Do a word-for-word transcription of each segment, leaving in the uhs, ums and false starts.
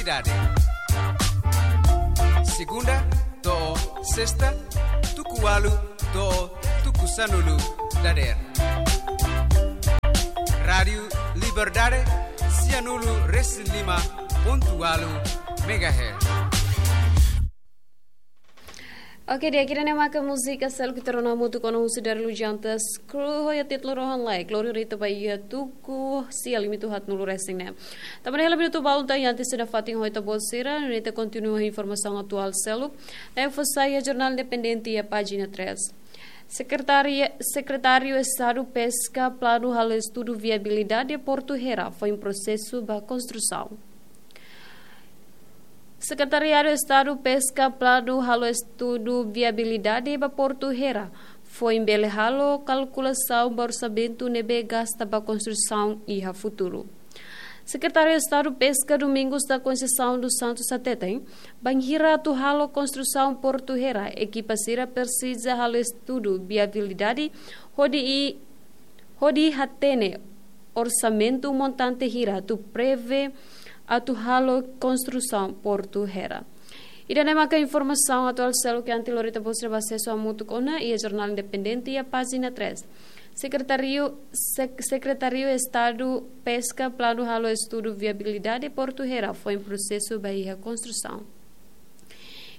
Liberdade. Segunda to'o sesta, tuku ualu to'o tuku sanulu dadeer. Rádiu Liberdade, sianulu resin lima pontu ualu megahertz. Oke, di'ak, ida-ne'e maka múzika seluk ita rona hamutuk ona husi Daryl Lujantas, kru ho iha títulu Rohan Lai, Glória Rita Bahia, tuku sia limitu haatnulu resin neen. Tanba ne'e hela minutu balu tan iha antes da fatin ho ita-boot sira, nune'e ita kontinua informasaun atuál seluk ne'ebé fó sai iha Jornál Independente iha pájina três. Sekretária, Sekretáriu Estadu Peska planu halo estudu viabilidade Portu Hera foin prosesu ba konstrusaun. Sekretariadu Estadu Peska planu halo estudu viabilidade ba Portu Hera, foin bele halo kalkulasaun ba orsamentu ne'ebé gasta ba konstrusaun iha futuru. Sekretáriu Estadu Peska Domingos da Conceição dos Santos hateten, bainhira atu halo konstrusaun Portu Hera, ekipa sira presiza halo estudu viabilidade hodi i-, hodi hatene orsamentu montante hira atu prevee atu halo konstrusaun Portu Hera. Ida-ne'e maka informasaun atuál seluk iha antes lori ita-boot sira ba asesu hamutuk ona iha Jornál Independente iha pájina três. Sekretáriu, Sek-, Sekretáriu Estadu Peska planu halo estudu viabilidade Portu Hera foin prosesu ba iha konstrusaun.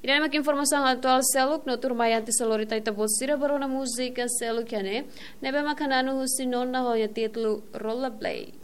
Ida-ne'e maka informasaun atuál seluk, no tuirmai antes lori ita-boot sira ba rona múzika seluk iha ne'e, ne'ebé maka na'anu husi Nona ho iha títulu Rollerblade.